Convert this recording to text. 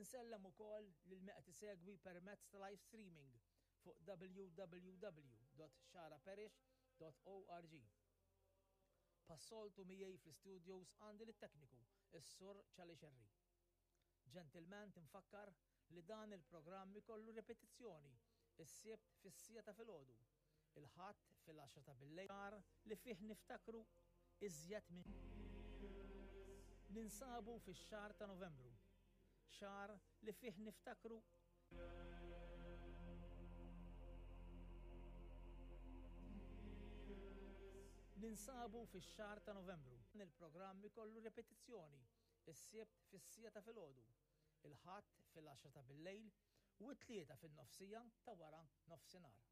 Insellem ukoll lil min qed isegwi permezz ta' live streaming fuq www.xagħraparish.org. Bħas-soltu miegħi fl-istudios għandi lit-tekniku, is-Sur Charlie Scerri. Ġentilment infakkar li dan il-programm ikollu ripetizzjoni s-Sibt fis-siegħa ta' filgħodu, il-Ħadd fil-għaxra ta' billejl, xahar li fih niftakru iżjed minn Ninsabu fix-xahar ta' Novembru, xahar li fih niftakru Ninsabu fix-xahar ta' Novembru. Dan il-programm ikollu ripetizzjoni s-Sibt fis-siegħa ta' filgħodu, il-Ħadd fil-għaxra ta' billejl u t-Tlieta fin-nofsija ta' wara nofsinhar.